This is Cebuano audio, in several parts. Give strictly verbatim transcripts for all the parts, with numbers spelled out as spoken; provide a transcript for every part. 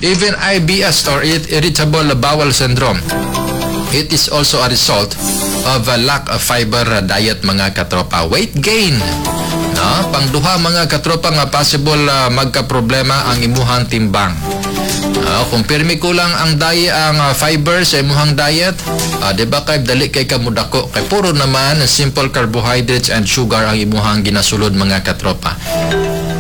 Even I B S or irritable bowel syndrome, it is also a result of a lack of fiber diet, mga katropa. Weight gain. No? Pangduha, mga katropa, nga possible uh, magka-problema ang imuhang timbang. Uh, kung pirmi kulang ang diet, ang uh, fiber sa imuhang diet, uh, di ba kay dali kay ka mudako kay puro naman simple carbohydrates and sugar ang imuhang ginasulod, mga katropa.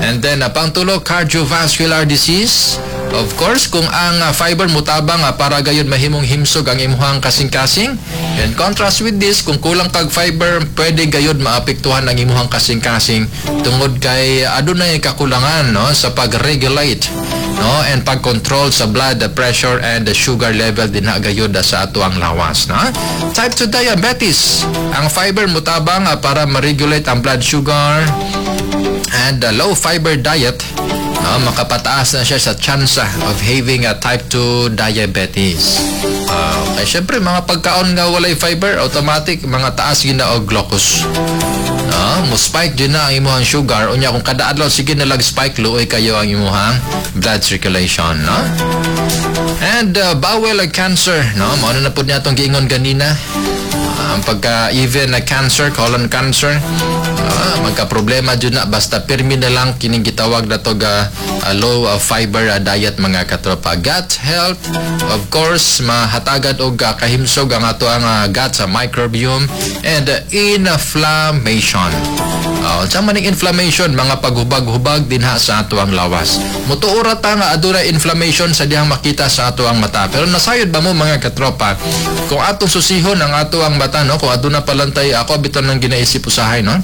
And then uh, pangtulo, cardiovascular disease. Of course, kung ang uh, fiber mutabang uh, para gayud mahimong himsog ang imuhang kasing-kasing. In contrast with this, kung kulang kag fiber, pwede gayud maapektuhan ang imuhang kasing-kasing tungod kay adunay kakulangan, no, sa pag-regulate, no, and pag-control sa blood pressure and the sugar level dinha gayud sa ato ang lawas, no. Type two diabetes. Ang fiber mutabang uh, para ma-regulate ang blood sugar, and the low fiber diet, no, makapataas na siya sa tsansa of having a type two diabetes. Uh, kaya syempre, mga pagkaon nga walay fiber, automatic mga taas gina og glucose. No, mo spike din na ang imuhang sugar unya kung kada adlaw sige na lag spike, luoy kayo ang imuhang blood circulation, no? And uh, bowel cancer, no, mao na na pud niya atong giingon ganina. Ang pagka even na cancer, colon cancer, uh, magka-problema jud na basta pirmi na lang kining gitawag na to ga uh, low uh, fiber uh, diet, mga katropa. Gut health, of course, mahatagan og uh, kahimsog ang ato ang uh, gut sa microbiome and uh, inflammation. Uh, unsa man ning inflammation? Mga paghubag-hubag dinha sa ato ang lawas. Mutuo ra ta nga adunay inflammation sa dihang makita sa ato ang mata. Pero nasayod ba mo, mga katropa, kung atong susihon ang ato ang mata, no, kung aduna palantay, ako bitaw nang ginaisip usahay, no?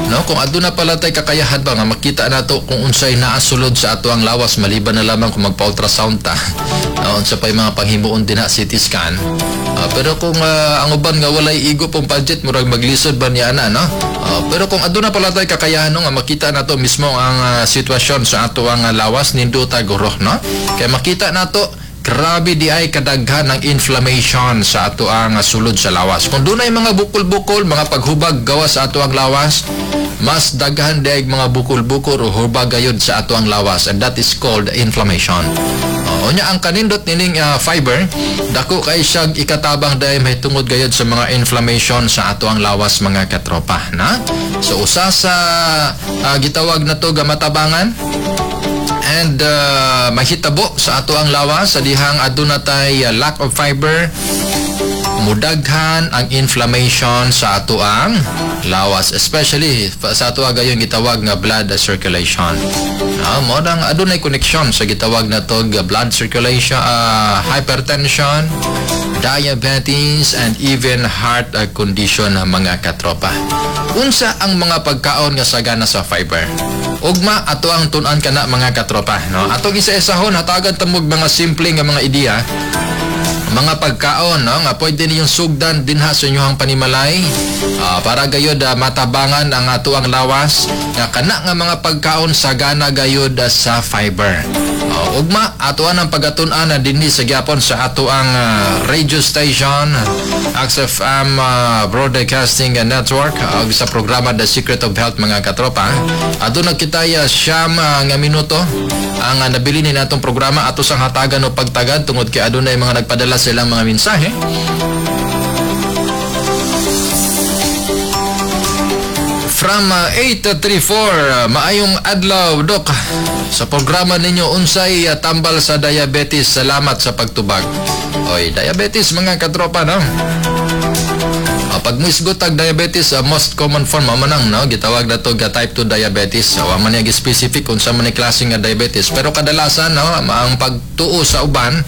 No, kung aduna pala tay kakayahan ba nga makita nato kung unsay naa sulod sa ato ang lawas, maliban na lamang kung magpa-ultrasound ta. No, unsa pay mga panghimuon dinha, C T scan. Uh, pero kung uh, ang uban nga walay igo pong budget, murag maglisod ba niya ana, no? Uh, pero kung aduna pala tay kakayahan, no, nga makita nato mismo ang uh, sitwasyon sa ato ang uh, lawas, nindota guro, no? Kay makita nato, grabe di ay kadaghan ng inflammation sa ato ang sulod sa lawas. Kung dunay mga bukol-bukol, mga paghubag gawas sa ato ang lawas, mas daghan di ay mga bukol-bukol o hubag gayud sa ato ang lawas, and that is called inflammation. Uh, unya ang kanindot nining uh, fiber, dako kay siya ikatabang dahil may tungod gayud sa mga inflammation sa ato ang lawas, mga katropa, na. So usa sa uh, gitawag na to gamatabangan and uh, mahitabo sa ato ang lawas sa dihang aduna tay uh, lack of fiber, mudaghan ang inflammation sa ato ang lawas, especially sa ato gayon gitawag nga blood circulation, no? Mo nang adunay connection sa gitawag na to blood circulation, uh, hypertension, diabetes and even heart uh, condition, mga katropa. Unsa ang mga pagkaon nga sagana sa fiber? Ugma ato ang tun-an kana, mga katropa, no? Atong isa-isahon, hatagan tamog mga simple nga mga ideya, mga pagkaon, no, nga pwede ninyong sugdan dinha sa inyong panimalay uh, para gayod uh, matabangan ang ato ang lawas nga kana nga mga pagkaon sagana gayod uh, sa fiber. Uh, ugma ato ang pagatun-an na dinhi sa gyapon sa ato ang uh, radio station, X F M uh, Broadcasting Network, ug uh, sa programa The Secret of Health, mga katropa. Aduna kita uh, siyam uh, nga minuto ang uh, nabili ni natong programa. Ato sang hatagan o pagtagad tungod kay adunay mga nagpadala sa ilang mga mensahe. From uh, eight three four, uh, "Maayong adlaw, Dok. Sa programa ninyo, unsay uh, tambal sa diabetes? Salamat sa pagtubag." Oy, diabetes, mga katropa, no? Uh, pag muisgot tag diabetes, uh, most common form mao man ang, no, gitawag na to ga type two diabetes. So, wa man niya specific kung sa man ni klase nga diabetes. Pero kadalasan, no, ang pagtuo sa uban,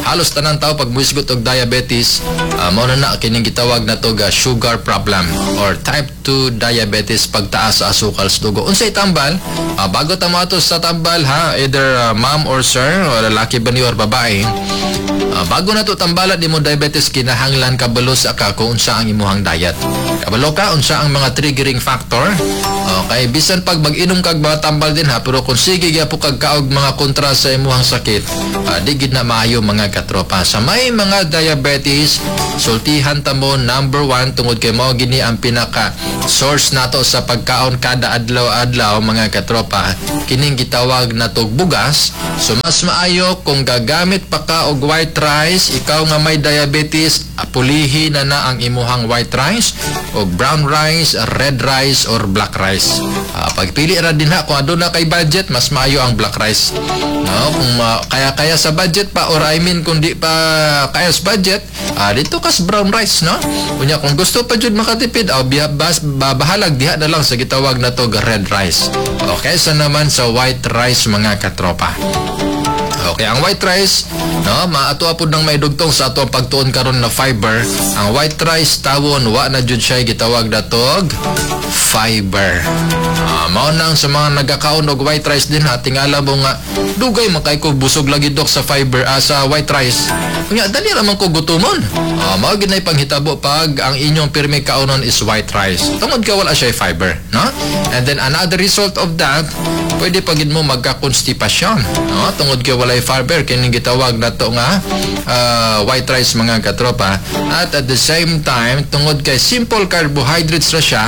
halos tanan tao pag muisgot og diabetes, uh, mao na na kining gitawag na to ga sugar problem or type two diabetes, pagtaas sa asukal sa dugo. Unsay tambal? Uh, bago ta moadto sa tambal ha, either uh, ma'am or sir, o lalaki ba ni or babae, uh, bago na to tambalan nimo diabetes, kinahanglan kabalo sa ka kung unsa ang imuhang imuhang diet. Kabalo ka unsa ang mga triggering factor? Okay, bisan pag mag-inom kag mga tambal din ha, pero kung sige gyapon kag kaog mga kontra sa imuhang sakit, uh, di gid na maayo, mga katropa. Sa may mga diabetes, sultihan ta mo number one tungod kay mao gini ang pinaka source nato sa pagkaon kada adlaw-adlaw, mga katropa, kining gitawag natog bugas. So mas maayo kung gagamit pa ka og white rice, ikaw nga may diabetes, pulihi na na ang imuhang white rice og brown rice, red rice or black rice. Uh, pagpili ra din ha, kung aduna kay budget, mas maayo ang black rice. No, kung uh, kaya-kaya sa budget pa or I mean kung di pa kaya sa budget, uh, dito kas brown rice, no? Unya kung gusto pa jud makatipid, aw biya bas bahalag diha na lang sa gitawag na to red rice. Okay, sa naman sa white rice, mga katropa. Okay, ang white rice, no, maato pod nang maidugtong sa ato ang pagtuon karon na fiber. Ang white rice tawon wa na jud siya gitawag natog fiber. Ah, mao nang sa mga nagakaon og white rice din ha, tingala mo nga dugay man kay ko busog lagi, dok, sa fiber, ah, sa white rice. Unya dali ra man ko gutomon. Ah, mao gid nay panghitabo pag ang inyong pirmi kaonon is white rice. Tungod ka wala siya fiber, no? And then another result of that, pwede pa gid mo magka-constipation, no? Tungod kay walay fiber kining gitawag nato nga ah, white rice, mga katropa. At at the same time, tungod kay simple carbohydrates ra siya,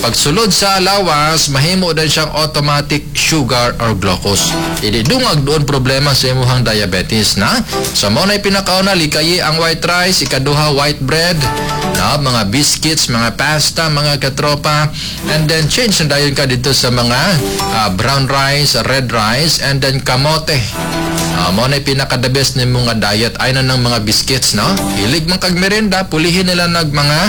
pagsulod sa lawas, mahimo din siyang automatic sugar or glucose. Idi dungag doon problema sa imuhang diabetes na. So mao na pinakauna, likayi ang white rice, ikaduha, white bread, no, mga biscuits, mga pasta, mga katropa, and then change na dayon ka dito sa mga ah, brown rice, red rice, and then kamote. Uh, mao na pinaka the best nimo nga diet ay na ng mga biscuits, no? Hilig man kag merenda, pulihin nila nag mga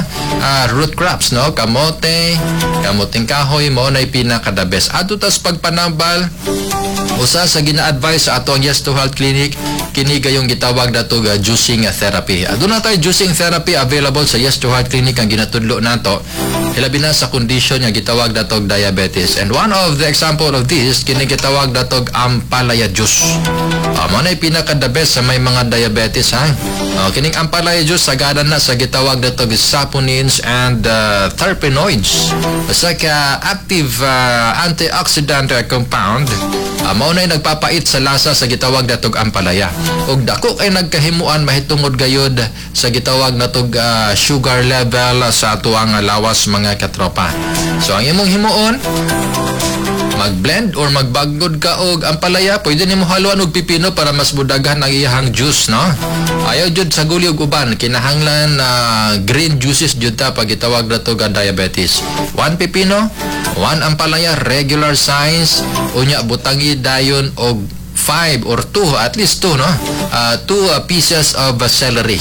ah, root crops, no? Kamote, kamuting kahoy, mao na pinaka the best. Adto tas pagpanambal, usa sa gina-advise sa ato ang Yes to Health Clinic kini gayong gitawag nato ga juicing therapy. Aduna tay juicing therapy available sa Yes to Health Clinic ang ginatudlo nato hilabi na sa kondisyon nga gitawag natog diabetes. And one of the example of this kini gitawag natog ampalaya juice. Uh, mao na pinaka the best sa may mga diabetes ha. Uh, kining ampalaya juice sagana na sa gitawag natog saponins and uh, terpenoids. Usa ka active uh, antioxidant uh, compound, uh, mao na nagpapait sa lasa sa gitawag natog ampalaya. Ug dako kay nagkahimuan mahitungod gayod sa gitawag natog uh, sugar level sa atuang lawas, mga katropa. So ang imong himuon, mag-blend or magbagod ka og ampalaya, pwede nimo haluan og pipino para mas budaghan ang iyahang juice, no? Ayaw jud sa guli og uban, kinahanglan na green juices jud ta pag gitawag nato ga diabetes. One pipino, one ampalaya regular size, unya butangi dayon og five or two, at least two, no? Uh, two uh, pieces of uh, celery.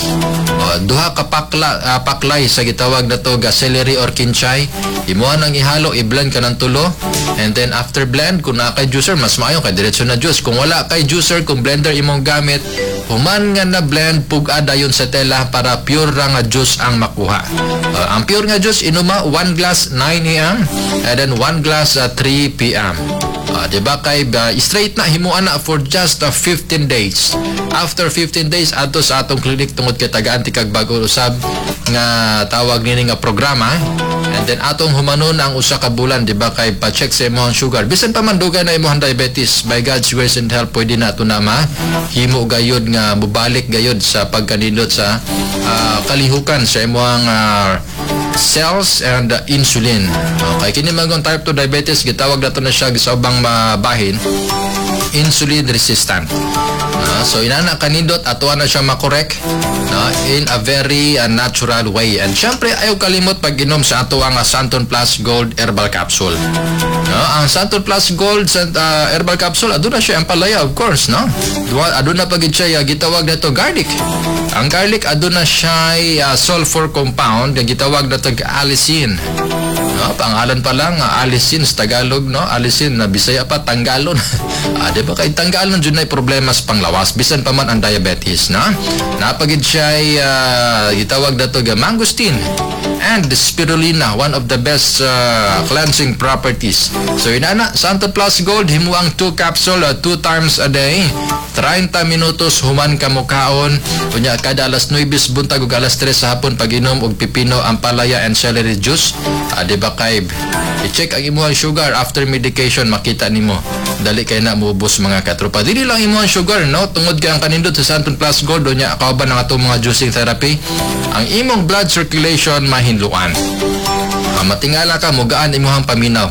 Uh, duha ka pakla, uh, paklay sa gitawag nato ga celery or kinchay. Imuha nang ihalo, i-blend ka ng tulo. And then after blend, kung naa kay juicer, mas maayo kay diretso na juice. Kung wala kay juicer, kung blender imong gamit, human nga na blend, pug-a dayon sa tela para pure ra nga juice ang makuha. Uh, ang pure nga juice, inuma one glass nine a m and then one glass uh, three p m. Uh, di ba kay uh, straight na himuan na for just uh, fifteen days. After fifteen days, adto sa atong clinic tungod kay tagaan ti kag bag-o usab nga tawag nini nga programa. And then atong humanon ang usa ka bulan, di ba kay pa-check sa imong sugar. Bisan pa man dugay na imong diabetes, by God's grace and help pwede na ato na ma himo gayud nga mobalik gayud sa pagkanindot sa uh, kalihukan sa imong uh, cells and uh, insulin. Okay, kini man type two diabetes, gitawag nato na siya sa ubang mabahin insulin resistant. Uh, so inana kanindot, ato na siya makorek, no, in a very uh, natural way. And syempre ayaw kalimot pag inom sa ato ang uh, Santon Plus Gold Herbal Capsule. No, ang Santon Plus Gold uh, Herbal Capsule, aduna siya ampalaya, of course, no. Aduna pa gid siya uh, gitawag nato garlic. Ang garlic, aduna siya uh, sulfur compound nga gitawag nato allicin. No, pangalan pa lang uh, allicin sa Tagalog, no? Allicin na Bisaya pa tanggalon. ah, di ba kay tanggalon jud nay problema sa panglawas bisan pa man ang diabetes, no? Napagid siya uh, gitawag nato ga mangosteen and spirulina, one of the best uh, cleansing properties. So inana, Santo Plus Gold, himuang two capsule uh, two times a day. thirty minutos human ka mokaon. Unya kada alas nuwebe buntag ug alas tres sa hapon, pag-inom og pipino, ampalaya and celery juice. Ah, di ba kay i-check ang imuhang sugar after medication, makita nimo dali kay na muubos, mga katropa. Dili lang imuhang sugar, no, tungod kay ang kanindot sa Xanthone Plus Gold, unya kauban ang atong mga juicing therapy, ang imong blood circulation mahinluan. Ah, matingala ka, mugaan imuhang paminaw.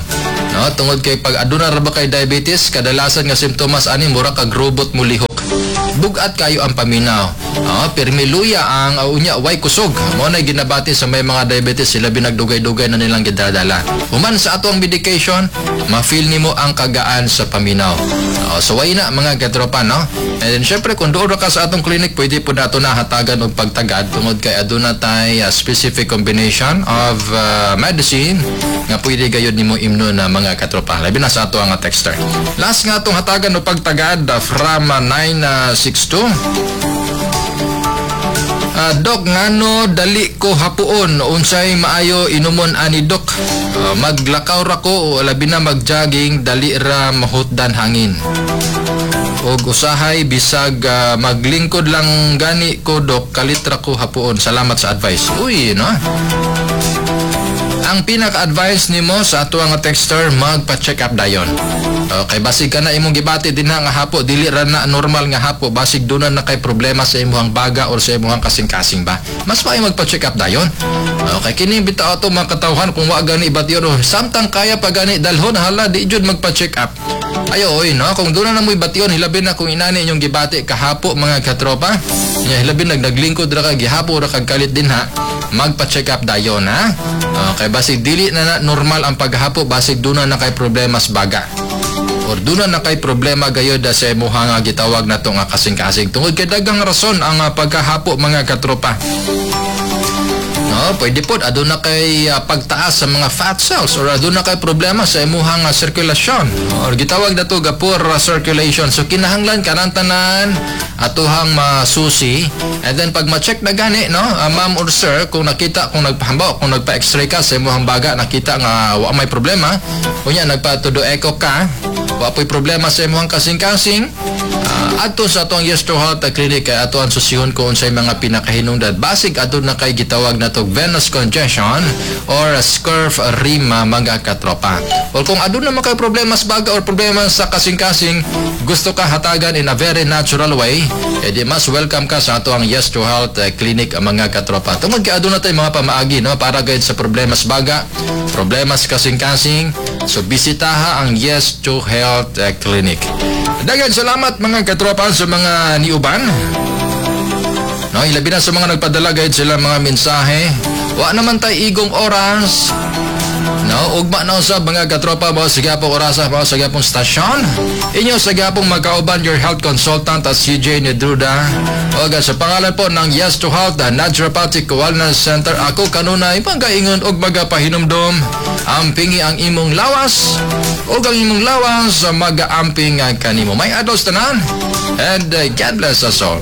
No, tungod kay pag aduna ra ba kay diabetes, kadalasan nga simptomas ani, mura kag robot mo lihok. Bugat kayo ang paminaw. Ah, pirmi luya ang uh, unya way kusog. Mo na ginabati sa may mga diabetes, sila binagdugay-dugay na nilang gidadala. Human sa ato ang medication, ma-feel nimo ang kagaan sa paminaw. Uh, so way na, mga katropa, no? And then syempre, kung doon ra ka sa atong clinic, pwede po nato na hatagan og pagtagad tungod kay aduna tay uh, specific combination of uh, medicine nga pwede gayud nimo imnon na, mga katropa. Labi na sa ato ang texter. Last nga atong hatagan og pagtagad uh, from uh, nine six two. Uh, Dok, ngano dali ko hapuon? Unsay maayo inumon ani, Dok? Uh, maglakaw ra ko o labi na magjogging, dali ra mahutdan hangin. Og usahay bisag uh, maglingkod lang gani ko, Dok, kalit ra ko hapuon. Salamat sa advice. Uy, no? Ang pinaka-advice nimo sa ato nga texter, magpa-check up dayon. Okay, basig ka na imong gibati din nga hapo, dili ra na normal nga hapo, basig duna na kay problema sa imong baga or sa imong kasing-kasing ba. Mas maayo magpa-check up dayon. Okay, kini bitaw ato mga katawhan, kung wa gani bation, samtang kaya pa gani dalhon, hala, di jud magpa-check up. Ayo oy, no, kung duna na mo'y bation, hilabi na kung inani inyong gibati kahapo, mga katropa. Nya hilabi nag naglingkod ra ka, gihapo ra kag kalit din ha, magpa-check up dayon, ha. Okay, basig dili na, na normal ang paghapo, basig duna na kay problema sa baga or duna na kay problema gayod sa imuha nga gitawag nato nga kasing-kasing, tungod kay daghang rason ang ah, pagkahapo, mga katropa. No, pwede po aduna kay ah, pagtaas sa mga fat cells or aduna kay problema sa imuhang uh, sirkulasyon or gitawag nato ga poor ah, circulation. So kinahanglan kanang tanan atuhang masusi, and then pag ma-check na gani, no, ah, ma'am or sir, kung nakita, kung nagpahambaw, kung nagpa-x-ray ka sa imuhang baga, nakita nga wa may problema, unya nagpa-todo echo ka, wa po'y problema sa imuhang kasing-kasing, uh, adto sa atong Yes to Health Clinic kay ato ang susihon kung unsay mga pinakahinungdan. Basig aduna kay gitawag na tog venous congestion or scurf rima, mga katropa. Or kung aduna man kay problema sa baga or problema sa kasing-kasing, gusto ka hatagan in a very natural way, edi mas welcome ka sa ato ang Yes to Health eh, Clinic, mga katropa. Tungod kay aduna tay mga pamaagi, no, para gayud sa problema sa baga, problema sa kasing-kasing. So bisitaha ang Yes to Health eh, Clinic. Daghang salamat, mga katropa, sa mga niuban. No, ilabi na sa mga nagpadala gayud sila mga mensahe. Wa naman tay igong oras. No, ugma na usab, mga katropa, mo sa gyapong orasa, mo sa gyapong stasyon. Inyo sa gyapong magkauban, your health consultant at C J Nedruda. O sa pangalan po ng Yes to Health, the Naturopathic Wellness Center, ako kanunay pangkaingon og magapahinumdom: ampingi ang imong lawas ug ang imong lawas magaamping kanimo. May adlaw tanan and uh, God bless us all.